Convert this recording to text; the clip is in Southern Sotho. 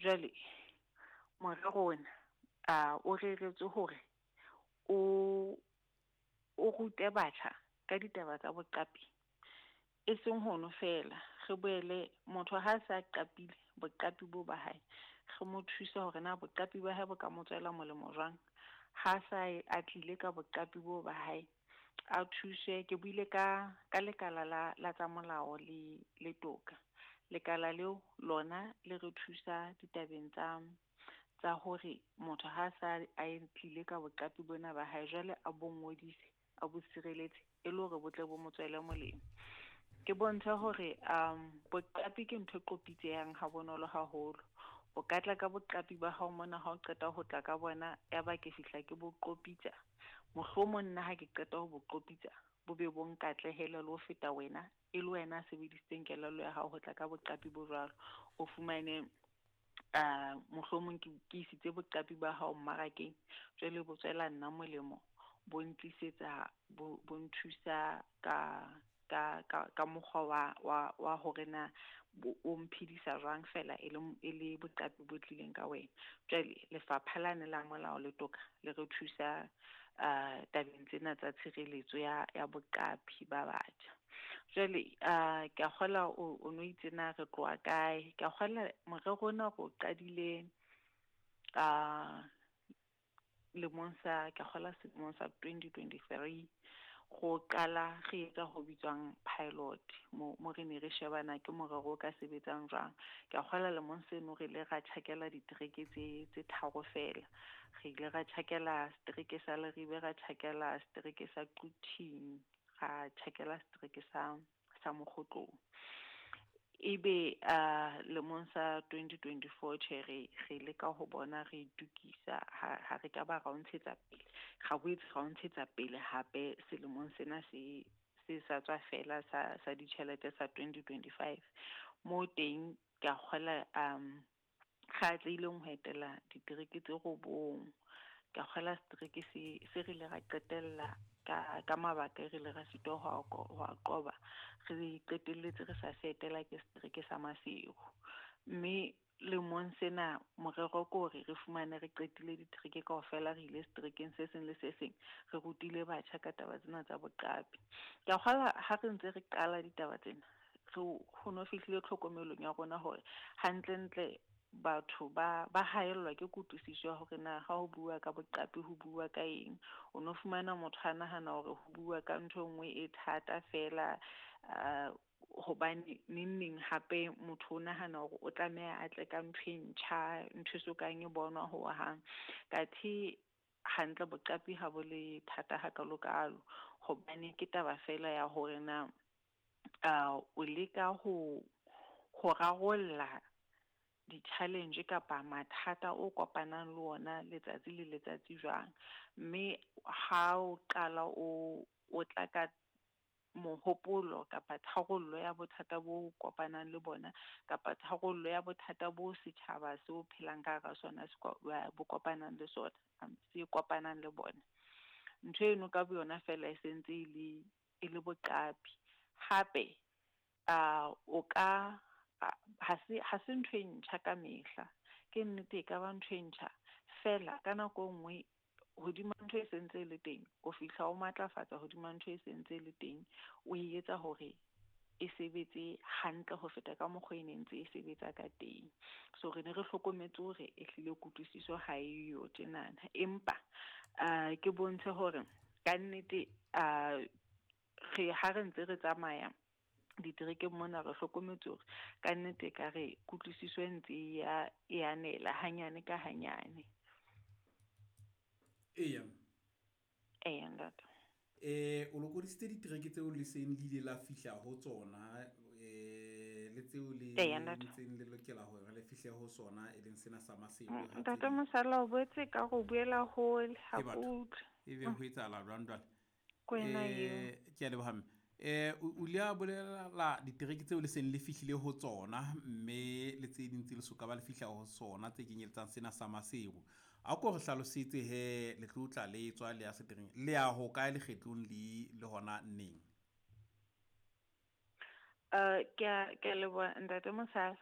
Jwale morero ona o reretswe hore o o rute batjha ka ditaba tsa boqapi. E seng hono feela, re boele motho ha a sa qapile boqapi bo ba hae, re mo thuse hore na boqapi ba hae bo ka mo tswela molemo jwang. Ha sa a tlile ka boqapi bo ba hae, a thuswe. Ke buile ka ka lekala la la tsa molao le le toka. Lekala leo lona le re thusa ditabeng tsa tsa hore motho ha sa a tlile ka boqapi bona ba hae, jwale a bo ngodise, a bo sireletse e le hore bo tle bo mo tswele molemo. Ke bontshe hore boqapi ke ntho e qopitsehang ha bonolo haholo. O ka tla ka boqapi ba hao mona, ha o qeta ho tla ka bona, ya ba ke fihla ke bo qopitsa. Mohlomong nna ha ke qeta ho bo qopitsa, bo be bo nkatlehele le ho feta wena, e le wena a sebedisitseng kelello ya hao ho tla ka boqapi bo jwalo. O fumane mohlomong ke isitse boqapi ba hao mmarakeng, jwale bo tswela nna molemo, bo ntlisetsa, bo nthusa ka ka mokgwa wa hore na o mphedisa jwang fela e le e le boqapi bo tlileng ka wena. Jwale lefapha lane la molao le toka le re thusa tabeng tsena tsa tshireletso ya boqapi ba batjha. Jwale ke a kgola o no itse na re tloha kae. Ke a kgola morero ona re o qadile lemong sa, ke a kgola selemong sa 2023. Go qala re etsa ho bitswang pilot, mo re ne re shebana ke morero o ka sebetsang jwang. Ke a kgola lemong seno re ile ra tjhakela ditereke tse tharo fela. Re ile ra tjhakela setereke sa Leribe, ra tjhakela setereke sa Quthing, ra tjhakela setereke sa Mokgotlong. Ebe lemong sa 2024 tjhe, re leka ho bona re itukisa ha re ka ba ra o ntshetsa pele, ra boetse ra o ntshetsa pele hape selemong sena se sa tswa fela sa ditjhelete sa 2025. Mo teng ke a kgola re atlehileng ho etela ditereke tse 9. Ke a kgola setereke se re ile ra qetella ka mabaka e re ile ra sitwa ho a qoba, re qetelletse re sa se etela, ke setereke sa Maseru. Mme lemong sena morero ke hore re fumane re qetile ditereke kaofela, re ile seterekeng se seng le se seng, re rutile batjha ka taba tsena tsa boqapi. Ke a kgola ha re ntse re qala ditaba tsena, re ho no fihlile tlhokomelong ya rona hore hantlentle batho ba haellwa ke kutlwisiso ya hore na ha ho bua ka boqapi ho bua ka eng. O no fumana motho a nahana hore ho bua ka ntho e nngwe e thata fela, hobane neng neng hape motho o nahana hore o tlameha a tle ka ntho e ntjha, ntho e sokang e bonwa hohang. Kathe hantle boqapi ha bo le thata hakalokalo, hobane ke taba fela ya hore na o leka ho rarolla di-challenge kapa mathata o kopanang le ona letsatsi le letsatsi jwang. Mme ha o qala o tla ka mohopolo kapa tharollo ya bothata bo kopanang le bona, kapa tharollo ya bothata bo setjhaba se o phelang ka hara sona bo kopanang le sona, se kopanang le bona, ntho eno ka boyona fela e sentse e le boqapi. Hape o ka ha se ntho e ntjha ka mehla. Ke nnete e ka ba ntho e ntjha fela ka nako e nngwe hodima ntho e sentse e le teng, o fihla o matlafatsa hodima ntho e sentse e le teng, o e etsa hore e sebetse hantle ho feta ka mokgwa e ne ntse e sebetsa ka teng. So re ne re hlokometse hore ehlile kutlwisiso ha eyo tjenana, empa ke bontshe hore kannete re ha re ntse re tsamaya diterekeng mona, re hlokometse hore kannete ka re kutlwisiso e ntse e e anela hanyane ka hanyane. Eya. Eya, ntate. O lokodisitse ditereke tseo le seng le ile la fihla ho tsona, le tseo le Eya, ntate. ntseng le lokela hore le fihle ho sona, e leng sena sa Maseru ha tse Ntate ding. Mosala, o boetse ka go buela hole ha Ke ke batho. utlwe. Ebe ho etsahala jwang jwale? Ke wena eo. Ke a leboha mme. O ile a bolela ditereke tseo le seng le fihlile ho tsona, mme le tse ding tse le soka ba le fihla ho tsona, tse kenyeletsang sena sa Maseru. A ko re hlalosetse he, le tlo tla le tswa le ya seterekeng, le ya ho kae lekgetlong le hona neng? Ke a leboha, ntate Mosala.